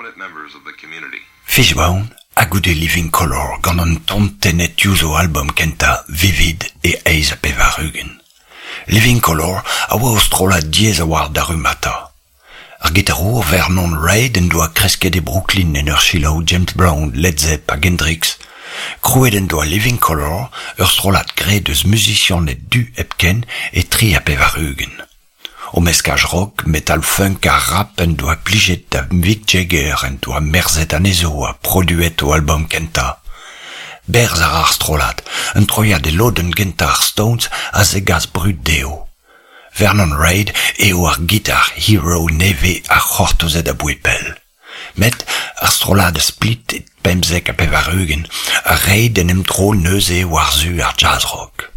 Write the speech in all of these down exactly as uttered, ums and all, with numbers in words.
prominent members of the community. Fishbone ha goude Living Colour gant an ton tennet diouzh o albom kentañ Vivid e eizh ha pevar-ugent. Living Colour a oa o strollad diaes a-walc'h da rummata. Ar gitarour Vernon Reid en doa kresket e Brooklyn en ur selaou James Brown, Led Zepp hag Hendrix. Krouet en doa Living Colour, ur strollad graet eus muzisianed du hepken e tri ha pevar-ugent. O meskaj rock, metal funk ha rap en doa plijet da Mick Jagger en doa merzet anezho ha produet o albom kentañ. Berzh a ra ar strollad, un troiad e lodenn gentañ ar Stones a zegas brud dezho. Vernon Reid eo ar gitar hero nevez a c'hortozet aboae pell. Met ar strollad a split e pemzek ha pevar-ugent ha Reid en em dro neuze war-zu ar jazz rock.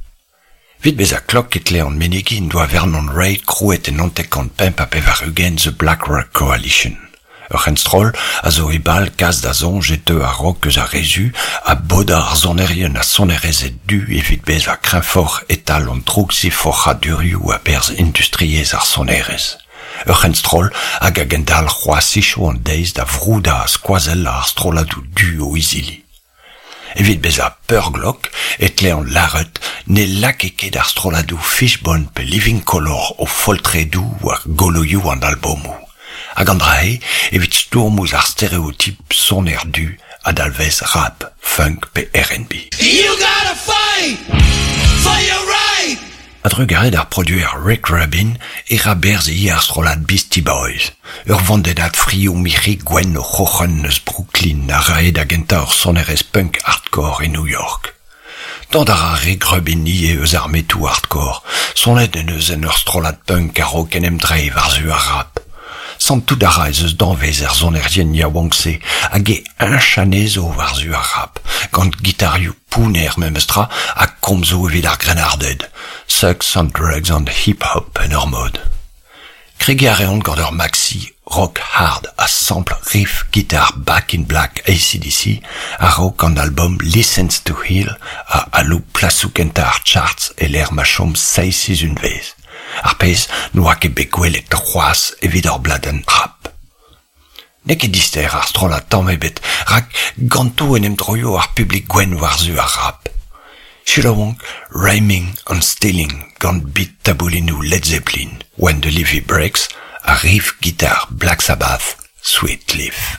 Evit bezañ klok e tlean menegiñ en doa Vernon Reid krouet en hanter-kant pemp ha pevar-ugent The Black Rock Coalition. Ur c'henstroll a zo e bal kas da soñj e teu ar rock eus ar re zu ha bodañ ar sonerien ha sonerezed du evit bezañ kreñvoc'h e-tal an droukziforc'hadurioù a-berzh industriezh ar sonerezh. Ur c'henstroll hag a gendalc'h c'hoazh hiziv an deiz da vroudañ ha skoazellañ ar strolladoù du o izili. Evit bezañ peurglok e tlean lâret ne lakae ket ar strolladoù Fishbone pe Living Colour o foltredoù war goloioù an albomoù. Hag an dra-se evit stourm ouzh ar stereotip soner du a dalvez rap, funk pe R and B. You gotta fight for your right. A-drugarez d'ar produer Rick Rubin e ra berzh ivez ar strollad Beastie Boys. Ur vandennad frioù mirc'hi gwenn o c'hroc'hen eus Brooklyn a rae da gentañ ur sonerezh punk hardcore e New York. Dont a ra Rick Rubin ivez eus ar metoù hardcore, sonet en deus en ur strollad punk a-raok en em dreiñ war-zu ar rap. Santout a ra ez eus danvez er sonerien yaouank-se hag e heñch anezho war-zu ar rap, gant gitarioù pounner memestra ha komzoù evit ar grennarded. Sex and drugs and hip-hop en ur mod. Kregiñ a reont gant ur maxi rock hard a sample riff guitar Back in Black A C D C a-raok an album Licence to Ill a aloub plasoù kentañ ar charts e lec'h ma chom seizh sizhunvezh. Ar pezh n'oa ket bet gwelet c'hoazh evit ur bladenn rap. N'eo ket dister ar strollad tamm ebet, rak ganto en em droio ar publik gwenn war-zu ar rap. Selaouomp Rhyming and Stealing gant beat taboulinoù Led Zeppelin, When the Levee Breaks, ha riff guitar Black Sabbath, Sweet Leaf.